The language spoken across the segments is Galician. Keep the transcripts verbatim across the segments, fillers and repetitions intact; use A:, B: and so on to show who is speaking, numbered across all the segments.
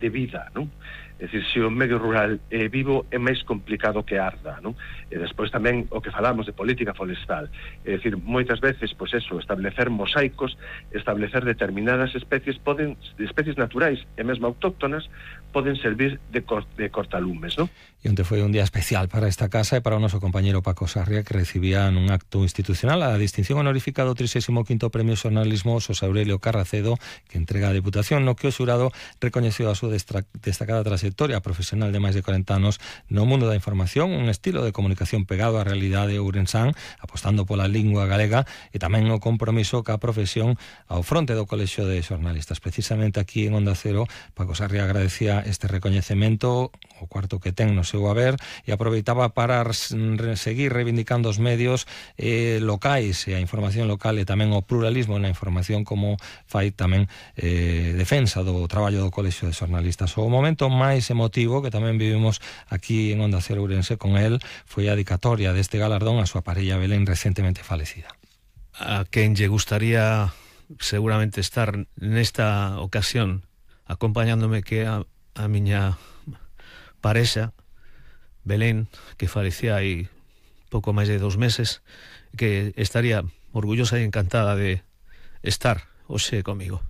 A: de vida, non? É dicir, se o medio rural é vivo, é máis complicado que arda, non? E despois tamén o que falamos de política forestal, é dicir, moitas veces, pois eso, establecer mosaicos, establecer determinadas especies, poden, especies naturais e mesmo autóctonas, poden servir de, cor, de cortalumes, non?
B: E onde foi un día especial para esta casa e para o noso compañero Paco Sarria, que recibía nun acto institucional a distinción honorífica do trixésimo quinto Premio Xornalismo Xosé Aurelio Carracedo, que entrega a Deputación, no que o xurado recoñeceu a súa destacada trayectoria profesional de máis de corenta anos no mundo da información, un estilo de comunicación pegado á realidade ourensán, apostando pola lingua galega e tamén o compromiso ca profesión ao fronte do Colexio de Xornalistas. Precisamente aquí en Onda Cero, Paco Sarria agradecía este recoñecemento, o cuarto que ten no seu haber, e aproveitaba para seguir reivindicando os medios eh, locais e a información local e tamén o pluralismo na información, como fai tamén eh, defensa do traballo do Colexio de Xornalistas. O momento máis emotivo que tamén vivimos aquí en Onda Cero Ourense con el foi a dedicatoria deste galardón a súa parella Belén, recentemente falecida.
C: A quen lle gustaría seguramente estar nesta ocasión acompañándome, que a, a miña parexa Belén, que falecía hai pouco máis de dos meses, que estaría orgullosa e encantada de estar hoxe comigo.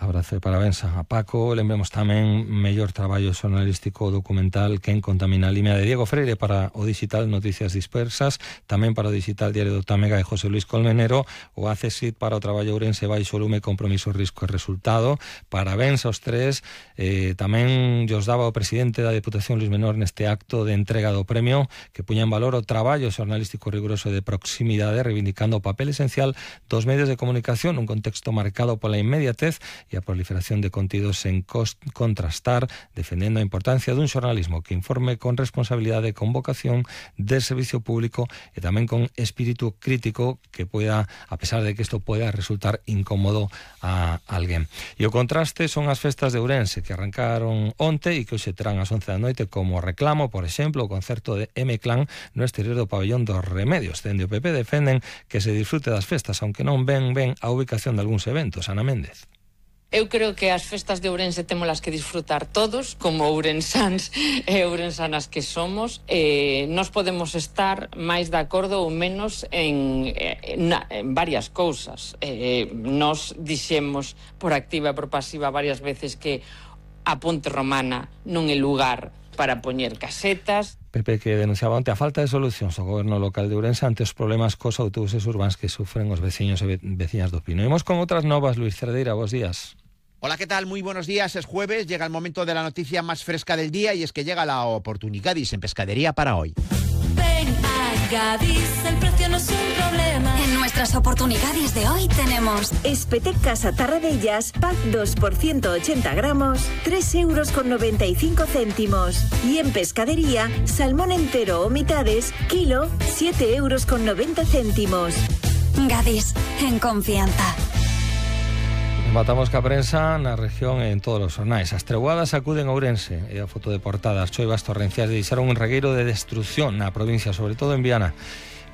B: Abrazo e parabéns a Paco. Lembremos tamén mellor traballo xornalístico documental Quen contamina a Limia, de Diego Freire, para o digital Noticias Dispersas, tamén para o digital Diario do Támega de José Luis Colmenero, o A C S I T para o traballo Ourense Baixo Lume, Compromiso, Risco e Resultado. Parabéns aos tres. Eh, tamén llos daba o presidente da Deputación Luis Menor neste acto de entrega do premio, que puña en valor o traballo xornalístico riguroso de proximidade, reivindicando o papel esencial dos medios de comunicación nun contexto marcado pola inmediatez e a proliferación de contidos sen contrastar, defendendo a importancia dun xornalismo que informe con responsabilidade, con vocación de servicio público e tamén con espírito crítico, que pueda, a pesar de que isto pueda resultar incómodo a alguén. E o contraste son as festas de Ourense, que arrancaron onte e que hoxe terán ás once da noite como reclamo, por exemplo, o concerto de M-Clan no exterior do pabellón dos Remedios. Dende o P P defenden que se disfrute das festas, aunque non ven ben a ubicación de algúns eventos. Ana Méndez.
D: Eu creo que as festas de Ourense témolas que disfrutar todos, como ourensáns e ourensanas que somos. Eh, nos podemos estar máis de acordo ou menos en, en, en varias cousas. Eh, nos dixemos por activa e por pasiva varias veces que a Ponte Romana non é lugar para poñer casetas.
B: Pepe, que denunciaba onte a falta de solucións ao goberno local de Ourense ante os problemas cos autobuses urbáns que sufren os veciños e veciñas do Pino. Imos con outras novas. Luis Cerdeira, bos días.
E: Hola, ¿qué tal? Muy buenos días. Es jueves, llega el momento de la noticia más fresca del día y es que llega la Oportunigadis en pescadería para hoy.
F: Ven a Gadis, el precio no es un problema. En nuestras Oportunidades de hoy tenemos
G: Espetecas a Tarradellas, pack dos por ciento ochenta gramos, tres euros con noventa y cinco céntimos. Y en pescadería, salmón entero o mitades, kilo, siete euros con noventa céntimos.
F: Gadis, en confianza.
B: Matamos ca prensa na región e en todos os xornais. As treboadas acuden a Ourense e a foto de portada. As choivas torrenciais deixaron un regueiro de destrucción na provincia, sobre todo en Viana.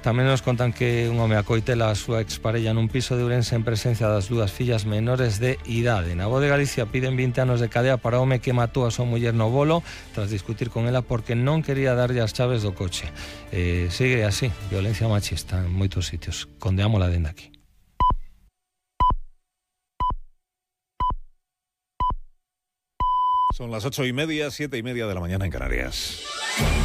B: Tamén nos contan que un home acoitela a súa exparella nun piso de Ourense en presencia das dúas fillas menores de idade. Na Voz de Galicia piden vinte anos de cadea para o home que matou a súa muller no bolo tras discutir con ela porque non quería darlle as chaves do coche. Eh, sigue así, violencia machista en moitos sitios. Condeámola dende aquí.
H: Son las ocho y media, siete y media de la mañana en Canarias.